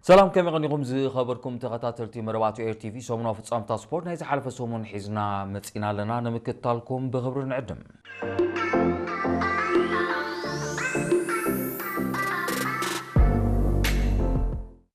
ሰላም፣ ከመይ ቀኒኹም ዝኸበርኩም ተኸታተልቲ መደባት ኤር ቲቪ? ሰሙናዊ ፍጻምታ ስፖርት ናይ ዝሓለፈ ሰሙን ሒዝና መጺና ኣለና። ንምክትታልኩም ብኽብሪ ንዕድም።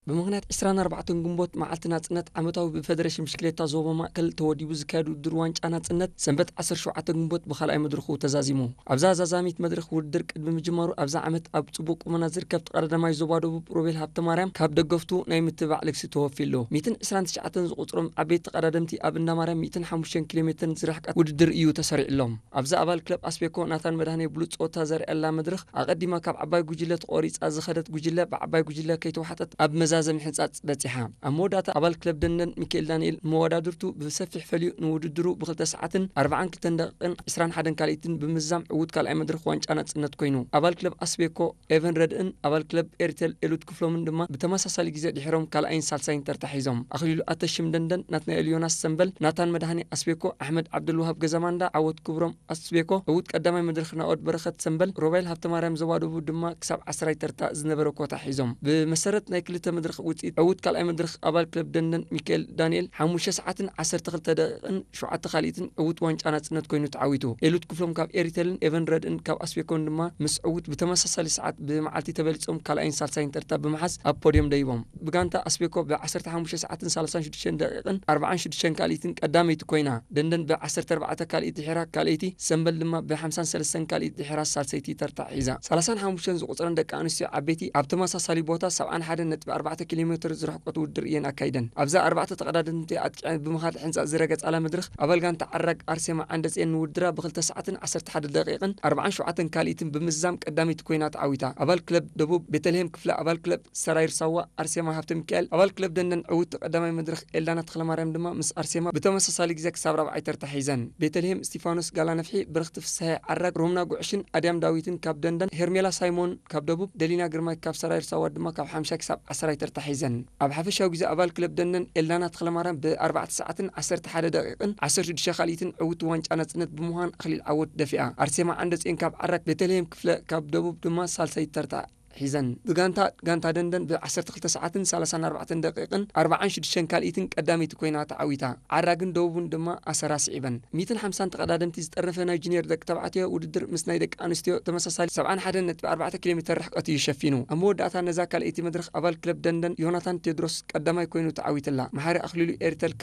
ብምኽንያት ዕስራን ኣርባዕተን ግንቦት መዓልቲ ናጽነት ዓመታዊ ብፌደሬሽን ብሽክሌታ ዞባ ማእከል ተወዲቡ ዝካየድ ውድድር ዋንጫ ናጽነት ሰንበት ዓሰርተ ሸውዓተ ግንቦት ብኻልኣይ መድረኹ ተዛዚሙ። ኣብዛ ዛዛሚት መድረኽ ውድድር ቅድሚ ምጅማሩ ኣብዛ ዓመት ኣብ ጽቡቕ ቁመና ዝርከብ ተቐዳዳማይ ዞባ ደቡብ ሮቤል ሃብተማርያም ካብ ደገፍቱ ናይ ምትባዕ ልግሲ ተወፊሉ። ሚእትን ዕስራን ትሽዓተን ዝቑጽሮም ዓበይቲ ተቐዳደምቲ ኣብ እንዳማርያም ሚእትን ሓሙሽተን ኪሎ ሜትር ዝርሕቀት ውድድር እዩ ተሰሪዕሎም። ኣብዚ ኣባል ክለብ ኣስቤኮ ናታን መድሃኔ ብሉጽ ጸወታ ዘርእያላ መድረኽ ኣቐዲማ ካብ ዓባይ ጉጅለ ተቖሪጻ ዝኸደት ጉጅለ ብዓባይ ጉጅለ ከይተዋሕጠት ኣብ መዛዘሚ ሕንጻጽ በጺሓ። ኣብ መወዳእታ ኣባል ክለብ ደንደን ሚካኤል ዳንኤል መወዳድርቱ ብሰፊሕ ፈልዩ ንውድድሩ ብክልተ ሰዓትን ኣርባዓን ክልተን ደቂቕን ዕስራን ሓደን ካልኢትን ብምዛም ዕዉት ካልኣይ መድረኽ ዋንጫ ናጽነት ኮይኑ። ኣባል ክለብ ኣስቤኮ ኤቨን ረድእን ኣባል ክለብ ኤሪቴል ኤሉት ክፍሎምን ድማ ብተመሳሳሊ ግዜ ድሒሮም ካልኣይን ሳልሳይን ተርታ ሒዞም። ኣኽሊሉ ኣተሽም ደንደን፣ ናትናኤል ዮናስ ሰምበል፣ ናታን መድሃኔ ኣስቤኮ፣ ኣሕመድ ዓብደልዋሃብ ገዛማንዳ፣ ዓወት ክብሮም ኣስቤኮ፣ ዕዉት ቀዳማይ መድረኽ ናኦድ በረኸት ሰምበል፣ ሮቤል ሃብተማርያም ዘዋደቡ ድማ ክሳብ ዓስራይ ተርታ ዝነበረ ኮታ ሒዞም። ብመሰረት ናይ ክልተ መድረኽ ውጽኢት ዕዉት ካልኣይ መድረኽ ኣባል ክለብ ደንደን ሚካኤል ዳንኤል ሓሙሽተ ሰዓትን ዓሰርተ ክልተ ደቂቕን ሸውዓተ ካልኢትን ዕዉት ዋንጫ ናጽነት ኮይኑ ተዓዊቱ። ኤሉት ክፍሎም ካብ ኤሪቴልን ኤቨን ረድእን ካብ ኣስቤኮን ድማ ምስ ዕዉት ብተመሳሳሊ ሰዓት ብመዓልቲ ተበሊጾም ካልኣይን ሳልሳይን ተርታ ብምሓዝ ኣብ ፖድዮም ደይቦም። ብጋንታ ኣስቤኮ ብ ዓሰርተ ሓሙሽተ ሰዓትን ሰላሳን ሽዱሽተን ደቂቕን ኣርባዓን ሽዱሽተን ካልኢትን ቀዳመይቲ ኮይና፣ ደንደን ብ ዓሰርተ ኣርባዕተ ካልኢት ድሒራ ካልኣይቲ፣ ሰምበል ድማ ብ ሓምሳን ሰለስተን ካልኢት ድሒራ ሳልሰይቲ ተርታ ሒዛ። ሰላሳን ሓሙሽተን ዝቑጽረን ደቂ ኣንስትዮ ዓበይቲ ኣብ ተመሳሳሊ ቦታ ሰብዓን ሓደን ነጥቢ ኣርባዕተ ኪሎ ሜትር ዝርሕቀት ውድድር እየን ኣካይደን። ኣብዛ ኣርባዕተ ተቐዳደምቲ ኣጥቂዐን ብምኻድ ሕንጻ ዝረገጻላ መድረኽ ኣባል ጋንታ ዓራግ ኣርሴማ ዓንደጽዮን ንውድድራ ብክልተ ሰዓትን ዓሰርተ ሓደ ደቂቕን ኣርባዓን ሸውዓተን ካልኢትን ብምዝዛም ቀዳመይቲ ኮይና ተዓዊታ። ኣባል ክለብ ደቡብ ቤተልሔም ክፍለ ኣባል ክለብ ሰራይር ሳዋ ኣርሴማ ሃብተ ሚካኤል፣ ኣባል ክለብ ደንደን ዕውቲ ቀዳማይ መድረኽ ኤልዳና ተኽለማርያም ድማ ምስ ኣርሴማ ብተመሳሳሊ ግዜ ክሳብ ራብዓይ ተርታ ሒዘን። ቤተልሔም እስቲፋኖስ ጋላ ነፍሒ፣ ብርኽቲ ፍስሐ ዓራግ፣ ሮምና ጉዕሽን ኣድያም ዳዊትን ካብ ደንደን፣ ሄርሜላ ሳይሞን ካብ ደቡብ፣ ደሊና ግርማይ ካብ ሰራይር ሳዋ ድማ ካብ ሓምሻይ ክሳብ ዓስራይ ተርታ ሒዘን። ኣብ ሓፈሻዊ ግዜ ኣባል ክለብ ደንደን ኤልዳና ተኽለማርያም ብኣርባዕተ ሰዓትን ዓሰርተ ሓደ ደቂቕን ዓሰርተ ሽዱሽተ ካልኢትን ዕውቲ ዋንጫ ናጽነት ብምዃን ኣኽሊል ዓወት ደፊኣ። ኣርሴማ ዓንደጽዮን ካብ ዓራግ፣ ቤተልሔም ክፍለ ካብ ደቡብ ድማ ሳልሳይ ተርታ ሒዘን። ብጋንታ፣ ጋንታ ደንደን ብ ዓሰርተ ክልተ ሰዓትን ሰላሳን ኣርባዕተን ደቂቕን ኣርባዓን ሽዱሽተን ካልኢትን ቀዳመይቲ ኮይና ተዓዊታ። ዓራግን ደቡብን ድማ ኣሰራ ስዒበን። ሚእትን ሓምሳን ተቐዳደምቲ ዝጠርነፈ ናይ ጁኒየር ደቂ ተባዕትዮ ውድድር ምስ ናይ ደቂ ኣንስትዮ ተመሳሳሊ ሰብዓን ሓደን ነጥቢ ኣርባዕተ ኪሎ ሜትር ርሕቀት እዩ ሸፊኑ። ኣብ መወዳእታ ነዛ ካልኣይቲ መድረኽ ኣባል ክለብ ደንደን ዮናታን ቴድሮስ ቀዳማይ ኮይኑ ተዓዊትላ። መሓሪ ኣኽሊሉ ኤርተልካ